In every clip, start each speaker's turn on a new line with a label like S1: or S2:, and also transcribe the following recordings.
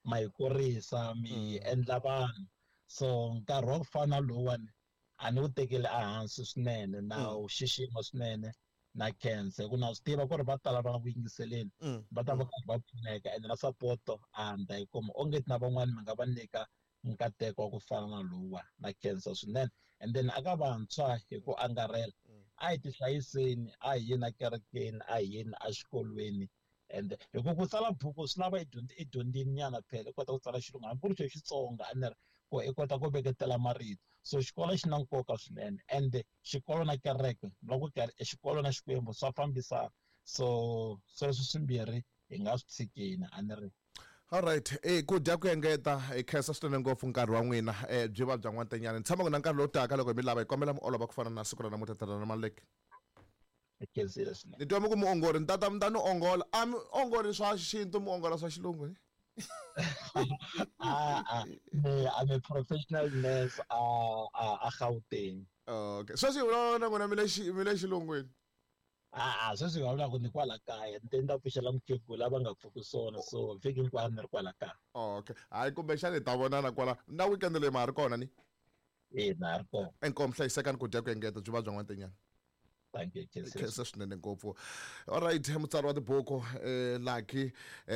S1: Ma hi kurisa, mi endla vanhu. So nkarhi wa ku fana lowuwani a ni wu tekeli ehansi swinene, na wu xixima swinene, na khensa hi ku na swi tiva ku ri va tala va nga ku yingiseleni va ta va karhi va pfuneka, ende na sapoto a ni ta yi kuma. Onge na van'wani mi nga va nyika nkateko wa ku fana na lowuwa, na khensa swinene. And then aka vantshwa hi ku angarhela, a hi tihlayiseni, a hi yeni ekerekeni, a hi yeni exikolweni. And hi ku ku tsala buku swi lava i dyondze, i dyondzini nyana phela, i kota ku tsala xilungu hambi ku ri xo Xitsonga, a ni ri ku i kota ku veketela marito. So xikolo xi na nkoka swinene, and xikolo na kereke, loko xikolo na Xikwembu swa fambisana. So sweswo swimbirhi hi nga swi tshikeni, a ni ri.
S2: Alright, e ku dya ku engeta, hi khensa swinene ngopfu nkarhi wa n'wina, byi va bya n'wantenyana. Ni tshama ku na nkarhi lowu taka loko hi mi lava hi kombela mi olova ku fana na siku ra namuntlha, tatana Maluleke.
S1: Hi khensile swinene.
S2: Ni twa mi ku muongori, ni tata mi ta ni ongola. A mi ongoli swa xintu, mi ongola swa xilungu ni?
S1: A a me I'm a professional nurse a Gauteng.
S2: Okay. Sweswi hi vulavula na n'wina mi le mi le xilungwini.
S1: A a sweswi hi vulavulaka ni kwala kaya, ni te ni ta pfuxela mukhegula va nga pfuki swona, so vhiki hinkwayo ni ri kwala kaya.
S2: Okay. Hayi kumbexana hi ta vonana kwala. Na weekend leyi ma ha ri kona ni?
S1: Ina, ha ri kona.
S2: Inkomu, hlayisekani ku dya ku engeta byi va bya n'wantenyana.
S1: Thank you, Jesus.
S2: Khensa swinene ngopfu. Alright, mutsari wa tibuku Lucky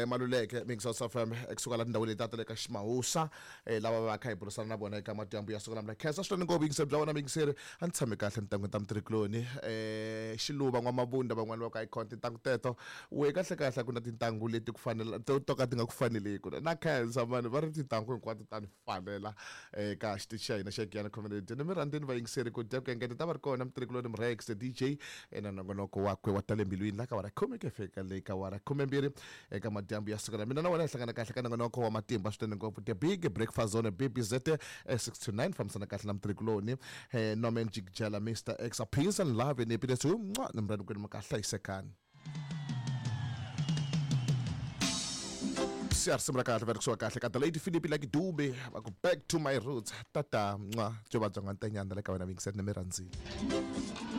S2: Maluleke Mix FM kusuka la tindhawu leti ta le ka Ximawusa, lava va kha hi burisana na vona eka madyambu ya siku namuntlha. Khensa swinene ngopfu yingiseri bya wena muyingiseri. A ni tshame kahle ntangwini ta mutirhikuloni, Xiluva N'wamabunda van'wani va ku icon tintangu teto. We kahle kahle a ku na tintangu leti ku fanela to to ka ti nga ku faneleku. Na khensa mani va ri tintangu hinkwato ta ni fanela eka xitichi xa hina xa Giyani Community. Ni mi rhandzeni vayingiseri ku dya ku engeta ta va ri kona mutirhikuloni Mrex the DJ na nongonoko wakwe wa tale mbilwini la ka wara khume ku ya fika le ka wara khumembirhi eka madyambu ya siku ra mina na wena hi hlangana kahle ka nongonoko wa matimba swinene ngopfu The Big Breakfast Zone BBZ 6 to 9 fambisana kahle na mutirhikuloni Norman Jikjela Mr X peace and love and happiness ni mi rhandza kwenu mi ka hlayisekani. Siya risimu ra kahle va ri kusuka kahle ka the lady Philip Lucky Dube va ku back to my roots tata mwa byo va bya n'wantenyana le ka wena vingiseni ni mi rhandzile.